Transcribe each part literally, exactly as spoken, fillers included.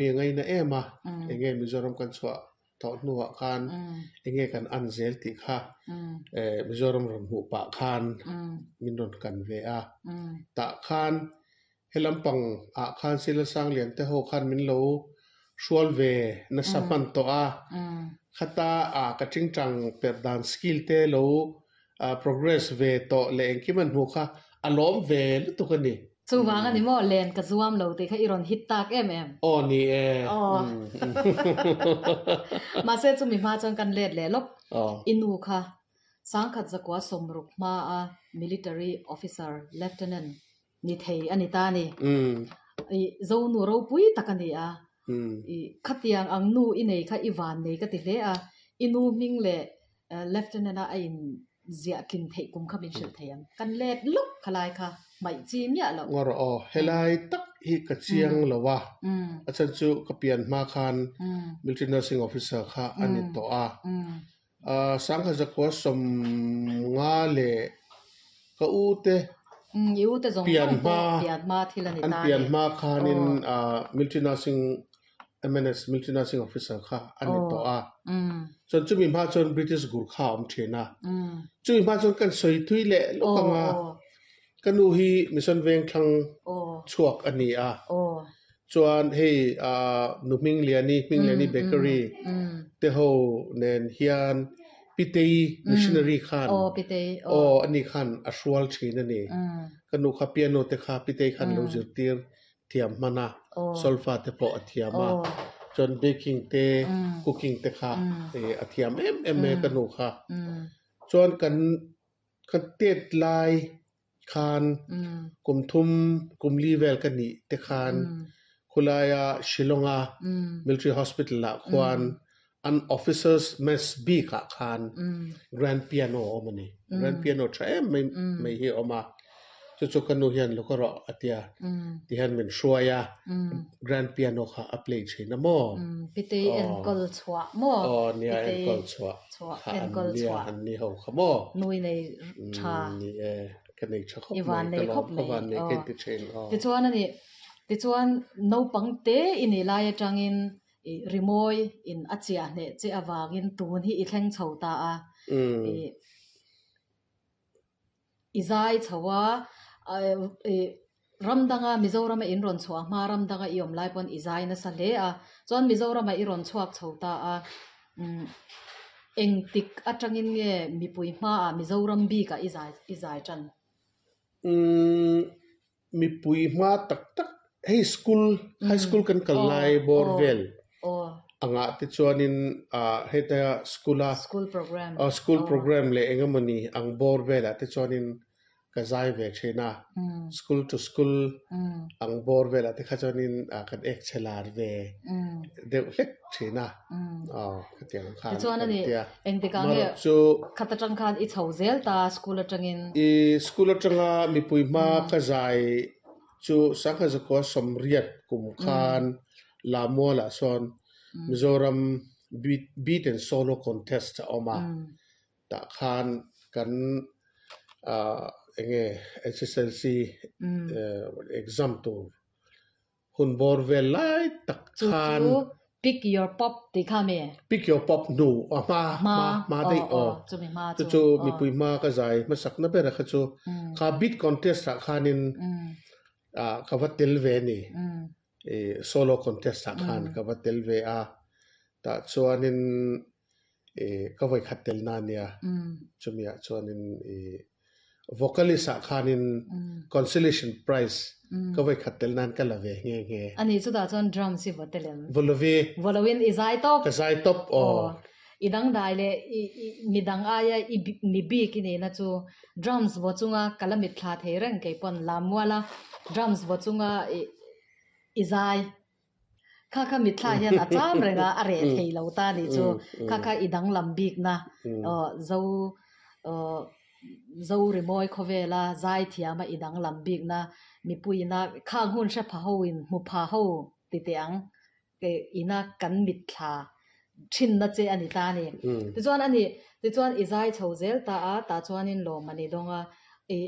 Mi ngaina em a, enge Mizoram kan chhuah tawh hnuah khan enge kan an zel tih kha Mizoram rawn hmuh pah khan min rawn kan ve a. Tah khan he lampang ah khan Sila Sanglian te ho khan min lo hrual ve nasa hman tawh a. Khata a ka tingtang per dan skill te lo progress ve tawh leh engkim an hmuh kha a lawm ve lutuk a ni. Chuvang ani maw len ka zuam lo tih kha i rawn hit tak em em. Aw ni e. Aw. Mahse chumi hma chuan kan let leh lawk. I nu kha Sangkhat zakua sawmruk hma a military officer lieutenant ni thei ani ta ni. I Zonu ropui tak ani a. I khatiang ang nu i nei kha i van nei ka ti hle a. I nu hming leh lieutenant a a in ziah tlin theih kum kha min hrilh thei ang. Kan let lawk khalai kha hmaih chi miah loh. Ngawr aw, helai tak hi ka chiang lo a. A chan chu ka pian hma khan military nursing officer kha ani tawh a. Sangkhat zakua sawm nga leh ka u te I u te zawng pian zawng hma pawh pian hma thil ani an ta pian ni. hma khanin military nursing M N S military nursing officer kha ani tawh a. Chuan chumi hma chuan British Gurkha awm thin a. Chumi hma chuan kan sawi thui leh lawk anga ka nu hi mission veng thlang chhuak ani a. Chuan hei nu Hming Liani Hming Liani Bakery te ho nen hian Pitei missionary khan aw ani khan a hrual thin ani. Ka nu kha piano te kha Pitei khan lo zirtir thiam hman a, solfa te pawh a thiam a. Chuan baking te cooking te kha a thiam em em mai ka nu kha. Chuan kan kan tet lai khan kum thum kum li vel ka nih te khan khulaia Shillonga military hospital ah khuan an officers mess bik ah khan grand piano a awm ani. Grand piano tha em mai mai hi a awm a. Chu chu ka nu hian lo ka rawh a tia ti hian min hruai a, grand piano kha a play thin a maw. Pitei enkawl chhuah maw. Aw nia enkawl chhuah kha an nia an ni ho kha maw. Nui nei tha. Ni e ka nei tha khawp I van mai nei ka khawp lawm ka mai. van nei ka inti thin aw. Tichuan ani tichuan naupang te i nih lai atangin i rimawi in a chiah hneh che awangin tun hi i thleng chho ta a. I i zai chho a i ramdanga Mizorama in rawn chhuah hma ramdanga i awm lai pawn i zai nasa hle a. Chuan Mizorama i rawn chhuak chho ta a. Engtik atangin nge mipui hmaah Mizoram bikah i zai i zai tan. Mipui hma tak tak hei school high school kan kal lai bawr vel angah te chuanin heta school a School program. School program leh engemawni ang bawr velah te chuanin ka zai ve thin a. School to school ang bawr velah te kha chuanin kan ek che lar ve deuh hlek thin a. Aw khatiang khan Tichuan ani kan tia. engtikah nge Marawh chu khat atang khan i chho zel ta school atangin. I school atanga mipui hma ka zai chu Sangha zakua sawmriat kum khan Lamualah sawn Mizoram beat beat and solo contest a awm a. Tah khan kan enge S S L C exam tur hun bawr vel lai tak Chu khan chu pick your pop tih kha mi. Pick your pop hnu a hma Hma hma daih aw aw. aw chumi hma Chu chu chu aw. mipui hma ka zai hmasak na ber a kha chu kha beat contest ah khanin ka va tel ve ni. I solo contest ah khan ka va tel ve a. Tah chuanin i ka vawi khat tel na nia. Chumi ah chuanin i vocalist ah khanin consolation prize ka vawi khat tel nan ka la ve nge nge. Ani chutah chuan drums hi va tel em. Volovi. Volowin i zai tawp. Ka zai tawp aw. Aw. I dang dai leh i i midang aia i mi bik i nihna chu drums vaw chunga ka la mit thla thei reng kei pawn Lamuala drums vaw chunga i i zai. Kha kha mit thla hian a cham renga a reh thei lo ta ni chu. Kha kha i dang lam bik na aw zo aw zo rimawi khawvela zai thiam a i dang lam bik na mipuina khang hun hre pha ho in hmu pha ho ti teh ang ke ina kan mit thla thin na che ani ta ni. Tichuan ani tichuan i zai chho zel ta a tah chuanin lawm ani dawnga i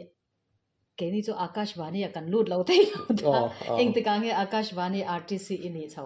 keini chu Akashvani a kan lut lo thei lo ta. Engtikah nge Akashvani R T C i nih chho.